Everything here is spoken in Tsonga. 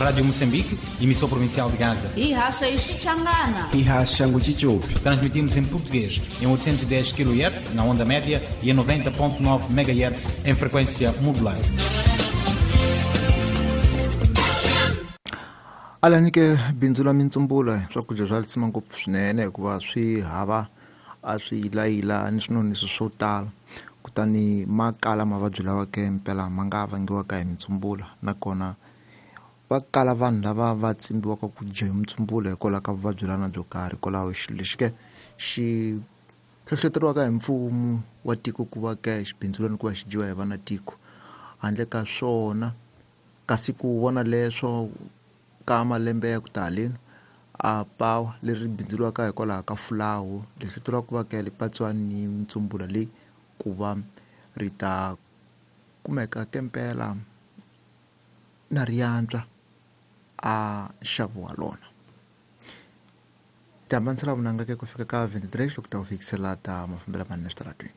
Rádio Moçambique, emissão provincial de Gaza. Hi haxa hi Xichangana. Hi haxa Nguchichopi. Transmitimos em português em 810 kHz na onda média e em 90.9 MHz em frequência modulada. Alani ke bindzu la mintsumbula swakudya swa lisima ngopfu swinene hikuva swi hava a swi yilayila ni swinonisi swo tala, kutani ma kala mavabyi lawa ke mpela ma nga vangiwaka hi mintsumbula. Nakona va kala vanhu lava va tsimbiwaka ku dya hi mintsumbula hikwalaho ka vuvabyi lana byo karhi. Hikwalaho xilo lexi ke xi hlohloteriwaka hi mfumo wa tiko ku va ke xibindzulani ku va xi dyiwa hi vana tiko handle ka swona. Kasi ku vona leswo ka malembe ya ku ta haleni a pawa leri bindzuriwaka hikwalaho ka fulawu leswi tivaka ku va ke ri patsiwa ni mintsumbula leyi ku va ri ta kumeka kempela na riantswa a nxavo wa lona. Tihambanisela vunanga ke ku fika ka 23 loko ta ku fikisela ta mafambelo manene switaratweni.